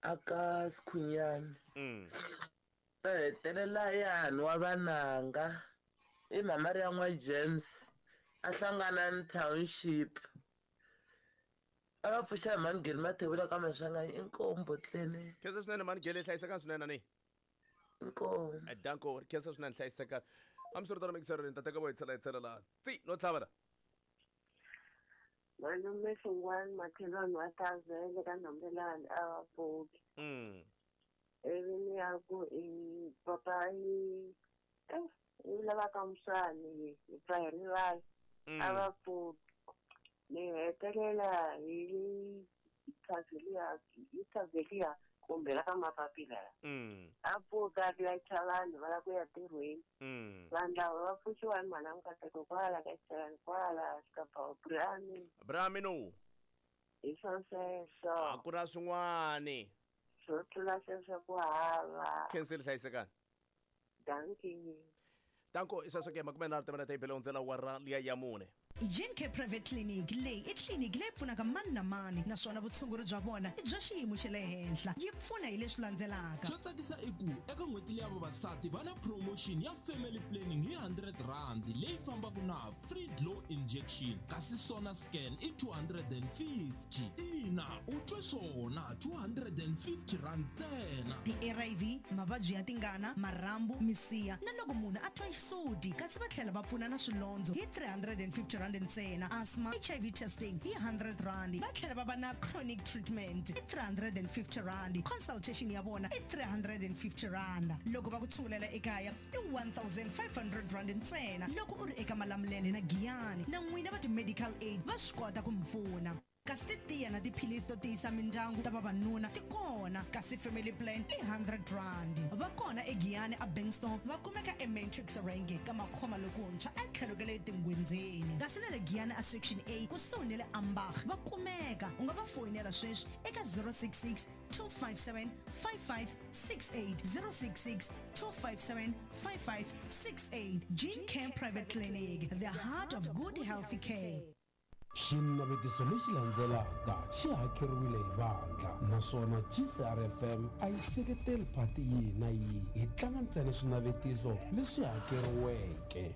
Aka Sikhunyani. Ta hetelela yani wa vananga i mhama ri ya n'wa James a hlangana ni township. A va pfuxa hi mhani Geli Mathebula ka Maswanganyi inkomu Tleni. Khensa swinene mhani Geli hlayisekani swinene ni. Inkomu. Eh, Danko ri khensa swinene hlayisekani. Hambiswiritano mixer ni ta teka vo hi tlhela hi tlhela laha. Tsi no tlhava la. Malume Hlungwani makhelwani wa Tavele ka Nhambelani a va pfuki. Ivi ni ya ku i papa i eh i lava ka Muswani hi pfa hi rivala a va pfuki. Ni hetelela hi Taveliya hi Taveliya kumbe la ka Mapapila la. A pfuka a layicha vanhu va lava ku ya ntirhweni. Vanhu lava va pfuxiwa hi mhana Nkateko kwala ka xichelani kwala Xikabhawu Brami. Brami no. Hi swo sweswo. A ku na swin'wani. Swo tlula sweswo ku hava. Khensile hlayisekani. Dankie. Danko i sweswo ke 30 timinete yi bele hundzela awara liya ya mune. Gene Care Private Clinic leyi i tliliniki leyi pfunaka mani na mani naswona vutshunguri bya vona i bya xiyimo xa le henhla. Yi pfuna hi leswi landzelaka. Xo tsakisa i ku eka n'hweti leya vavasati va na promotion ya family planning hi R100 leyi fambaka na free glow injection kasi sona scan i 250. Ina, u twe swona, R250 ntsena. Ti-ARV, mavabyi ya tingana, marhambu, misiha na loko munhu a twa xisuti kasi va tlhela va pfuna na swilondzo hi R350 ntsena, asthma, HIV testing hi R100, va tlhela va va na chronic treatment i R350, consultation ya vona i R350. Loko va ku tshungulela ekaya i R1500 ntsena loko u ri eka Malamulele na Giyani na n'wina va ti-medical aid va swi kota ku mi pfuna. Kasi titiya na tiphilisi to tiyisa mindyangu ta vavanuna ti kona kasi family plan i R100. Va kona eGiyani a Bengstone va kumeka eMatrix Range ka Makhoma lokuntshwa etlhelo ka le Tingwindzeni. Kasi na le Giyani a Section A kusuhi ni le Ambach va kumeka. U nga va foyinela sweswi eka 066 257 5568, 066 257 5568. Gene Care Private Clinic, the heart of good healthy care. Xinavetiso lexi landzelaka xi hakeriwile hi vandla naswona GCRFM a yi seketeli phati yihi na yihi, hi tlanga ntsena swinavetiso leswi hakeriweke.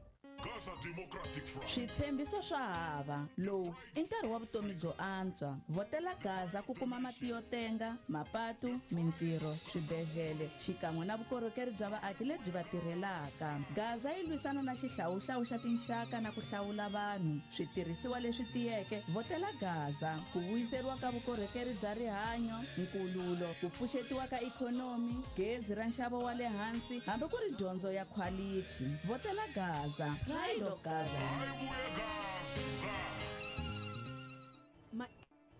Switshembiso swa hava. Lowu i nkarhi wa vutomi byo antswa. Vhotela Gaza ku kuma mati yo tenga, mapatu, mintirho, swibedlhele xikan'we na vukorhokeri bya vaaki lebyi va tirhelaka. Gaza yi lwisana na xihlawuhlawu xa tinxaka na ku hlawula vanhu. Switirhisiwa leswi tiyeke, vhotela Gaza. Ku vuyiseriwa ka vukorhokeri bya rihanyo, nkululo, ku pfuxetiwa ka ikhonomi, gezi ra nxavo wa le hansi hambi ku ri dyondzo ya khwalithi. Vhotela Gaza. Pride of Gaza. Ma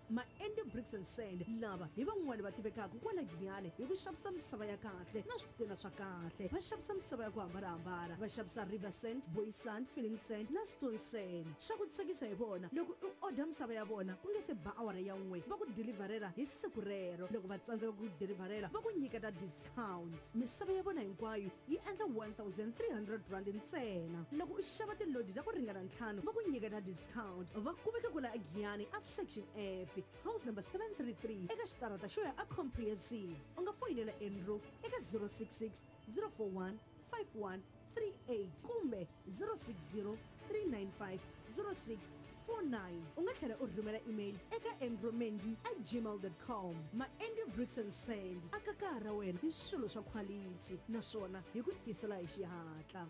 Ma Andy Bricks and Sand lava hi van'wani va tivekaka kwala Giyani hi ku xavisa misava ya kahle na switena swa kahle. Va xavisa misava ya ku hambanahambana, va xavisa river sand, boy sand, filling sand na stone sand. Swa ku tsakisa hi vona loko u order misava ya vona ku nge se ba awara ya n'we va ku deliverela hi siku rero. Loko va tsandzeka ku deliverela va ku nyiketa discount. Misava ya vona hinkwayo yi endla R1300 ntsena. Loko u xava tilodi ta ku ringana ntlhanu va ku nyiketa discount. Va kumeka kwala eGiyani a Section F, house number 733 eka xitarata xo ya a Comprehensive. U nga foyinela Andrew eka 066 041 5138 kumbe 060 395 0649. U nga tlhela u rhumela email eka andrewmendu at gmail dot com. Ma-Andy Bricks and Sand aka kaya ra wena hi swilo swa khwalithi naswona hi ku tisela hi xihatla.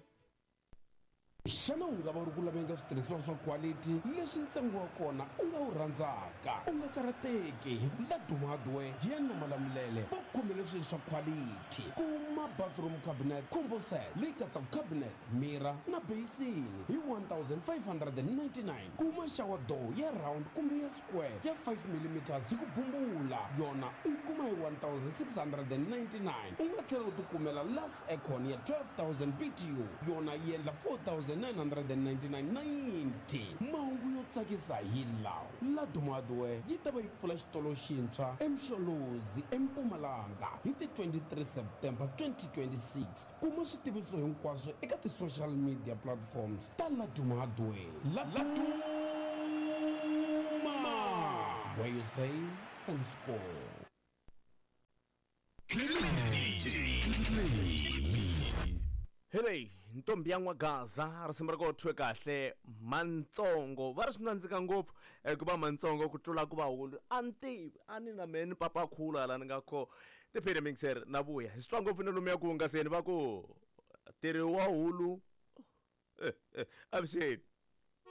Xana u nga va u ri ku laveni ka switirhisiwa swa khwalithi leswi ntsengo wa kona u nga wu rhandzaka? U nga karhateki hi ku Laduma Hardware, Giyani na Malamulele va ku khomele swilo swa khwalithi. Kuma bathroom cabinet combo set leyi katsaka cabinet, mirror na beyisini hi 1599. Kuma shower door ya round kumbe ya square ya 5 millimeters hi ku bumbula, yona u yi kuma hi 1699. U nga tlhela u tikumela Lux Aircon ya 12000 BTU, yona yi endla 4999.90. Mahungu yo tsakisa hi lawa, Laduma Hardware yi ta va yi pfula xitolo xintshwa eMsholozi, eMpumalanga hi ti 23 September 2026. Kuma switiviso hinkwaswo eka ti-social media platforms ta Laduma Hardware. Laduma! Where you save and score. Hi leyi ntombi ya N'wagaza, risimu ra ko thwe kahle mantsongo. Va ri swi nandzika ngopfu ku va mantsongo ku tlula ku va hulu. A ni tivi, a ni na mehe ni papa khulu hala ni nga kho tiphini mixer na vuya. Hi swi twa ngopfu na lomuya ku hungaseni va ku tirhi wa hulu. Avuxeni.